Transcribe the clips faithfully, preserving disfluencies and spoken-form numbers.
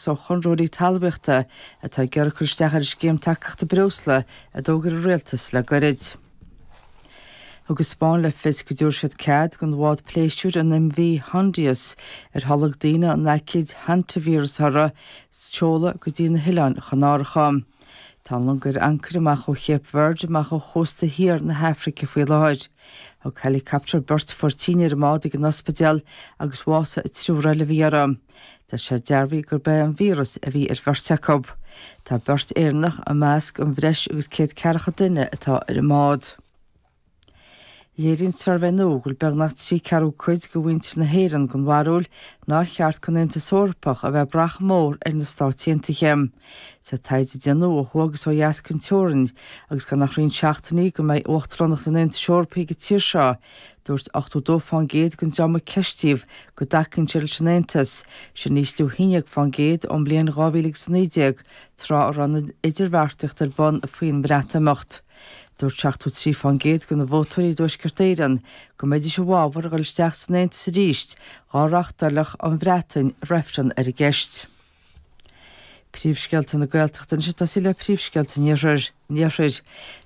ó chonraitheoirí talmhaíochta atá ag iarraidh cur isteach ar an scéim tacaíochta breosla a d'fhógair an rialtas le gairid. Thug an Spáinn le fios go dtabharfaidh siad cead don bhád pléisiúir an MV Hondius ar tholg daoine an aicíd hantavíreas orthu seoladh go dtí na hOileáin Chanáracha. Tá an long ar ancaire amach ó Chape Verde amach ó chósta thiar na hAfraice faoi láthair. Thug helicopter beirt a fuair tine ar an mbád ag an ospidéal agus bhásaigh an triúr eile a bhí orthu. Tá sé dearbhaithe gurb é an víreas a bhí ar bheirt acu. Tá beirt Éireannach i measc an bhreis agus céad ceathracha duine atá ar an mbád. Léiríonn suirbhé nua go bhfuil beagnach trí ceathrú cuid de mhuintir na hÉireann den bharúil nár cheart don Aontas Eorpach a bheith ag brath chomh mór ar na Stáit Aontaithe. Sa taighde a déanadh ó thuaidh agus ó dheas den teorainn agus gan ach roinnt seachtainí go mbeidh uachtaránacht an Aontais Eorpaigh ag an tír seo, dúirt ochtó dó fán gcéad den dream a ceistíodh go dtacaíonn siad leis an Aontas, sin ísliú haon déag fán gcéad ón mbliain dhá mhíle agus a naoi déag, tráth a raibh an idirbheartaíocht ar bun faoin mBreatimeacht. Dúirt seachtó trí fán gcéad de na vótóirí i dTuaisceart Éireann go mbeidís i bhfabhar a dhul isteach san Aontas arís dá reáchtálfadh an Bhreatain reifreann ar an gceist. Príomhscéalta na Gaeltachta anois ag tosaí le príomhscéalta an Iarthair.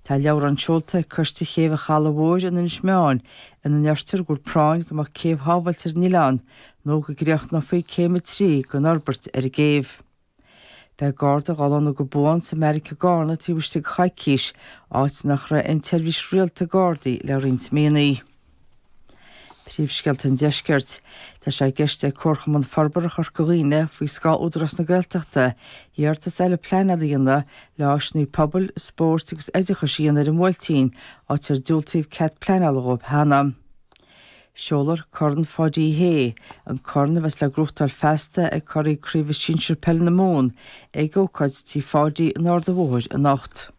Tá leabhrán seolta ag Coiste Chéibh an Chalaidh Mhóir in Inis Meáin ina ndeirtear go bhfuil práinn go mbeadh céibh shábháilte ar an oileán nó go gcríochnófaí céim a trí den fhorbairt ar an gcéibh. Beidh Garda á lonnú go buan sa mbeairic i gCarna taobh istigh de choicís, áit nach raibh aon tseirbhís rialta Gardaí le roinnt míonna. Príomhscéalta an Deiscirt. Tá sé i gceist ag Comharchumann Forbartha Chorca Dhuibhne faoi scáth Údarás na Gaeltachta iarratas eile pleanála a dhéanamh le áiseanna pobail, spóirt agus oideachais a dhéanamh ar an mBuailtín, áit ar diúltaíodh cead pleanála dhóibh cheana. Seolfar Corn Pháidí H, an corn a bheas le gnóthachtáil feasta ag curaidh Craoibhe Sinsir Peile na Mumhan, ag ócáid Tí Pháidí in Ard an Bhóthair anocht.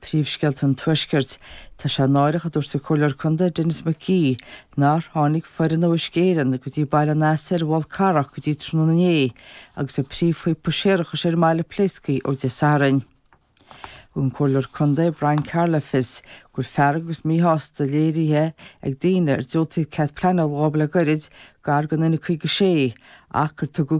Príomhscéalta an Tuaiscirt. Tá sé náireach, a dúirt an Comhairleoir Contae Denis McGee, nár tháinig foireann ó Uisce Éireann go dtí Baile an Easa ar an bhFál Carrach go dtí tráthnóna inné agus an príomhphíopa séarachais ar an mbaile pléasctha ó Dé Sathairn. Thug an Comhairleoir Contae Brian Carroll le fios go bhfuil fearg agus míshásta léirithe ag daoine ar diúltaíodh cead pleanála dhóibh le gairid gar don N caoga sé ach gur tugadh